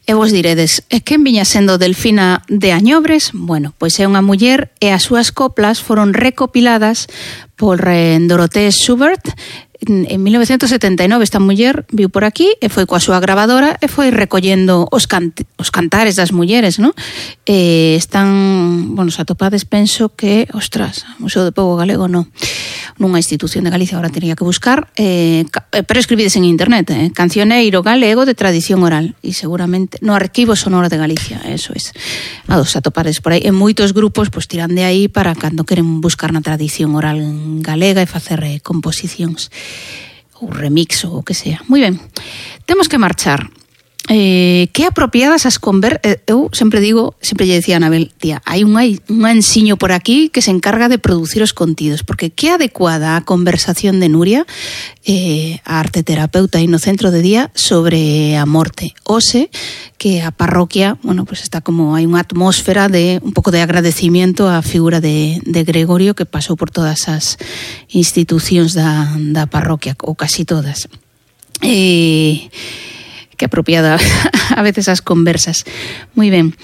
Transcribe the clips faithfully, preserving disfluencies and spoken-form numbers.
E vos diredes, e quen viña sendo Delfina de Añobres? Bueno, pois é unha muller e as súas coplas foron recopiladas por eh, Dorothée Schubert. En mil novecientos setenta e nove esta muller viu por aquí e foi coa súa gravadora e foi recollendo os, cant os cantares das mulleres, non? E están, bueno, se atopades, penso que, ostras, Museo do Pobo Galego non, nunha institución de Galicia, agora teria que buscar, eh, pero escribides en internet, eh, Cancioneiro Galego de Tradición Oral, e seguramente no Arquivo Sonoro de Galicia, eso es. A dos atopades por aí, en moitos grupos pois tiran de aí para cando queren buscar na tradición oral galega e facer eh, composicións ou remix ou o que sea. Moi ben, temos que marchar. Eh, que apropiadas as conver... Eh, eu sempre digo, sempre lle decía a Anabel, tía, hai un, hai un ensiño por aquí que se encarga de producir os contidos, porque que adecuada a conversación de Nuria, eh, a arte terapeuta aí no centro de día, sobre a morte. Ose, que a parroquia, bueno, pues está como, hai unha atmósfera de un pouco de agradecimiento á figura de, de Gregorio, que pasou por todas as institucións da, da parroquia, ou casi todas. E... que apropiada a veces as conversas. Moi ben.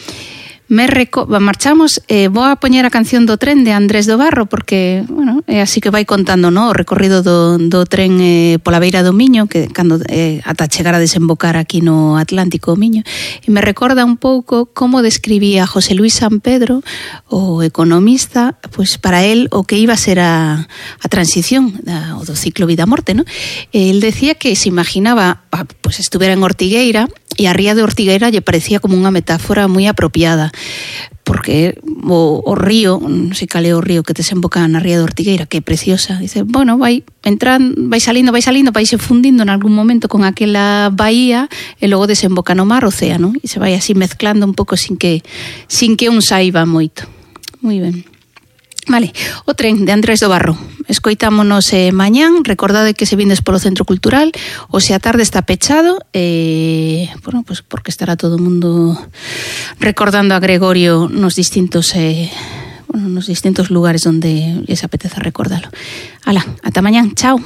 Me reco... marchamos, eh, vou a poñer a canción do tren de Andrés do Barro, porque, bueno, é así que vai contando, no, o recorrido do, do tren eh, pola beira do Miño, que cando eh, ata chegar a desembocar aquí no Atlántico o Miño, e me recorda un pouco como describía José Luis San Pedro, o economista, pois para él o que iba a ser a, a transición da, o do ciclo vida-morte, no? El decía que se imaginaba, pois estuvera en Ortigueira, e a ría de Ortigueira lle parecía como unha metáfora moi apropiada, porque o, o río, non sei cal é o río que desemboca na ría de Ortigueira, que é preciosa, dice, bueno, vai entrando, vai salindo, vai salindo, vai se fundindo en algún momento con aquela bahía e logo desemboca no mar, océano, e se vai así mezclando un pouco sin que sin que un saiba moito. Moi ben. Vale, o tren de Andrés do Barro. Escoitámonos eh, mañán, recordade que se vindes polo Centro Cultural, o se a tarde está pechado, eh, bueno, pues porque estará todo o mundo recordando a Gregorio nos distintos eh, bueno, nos distintos lugares onde les apeteza recordalo. Ala, ata mañán, chao.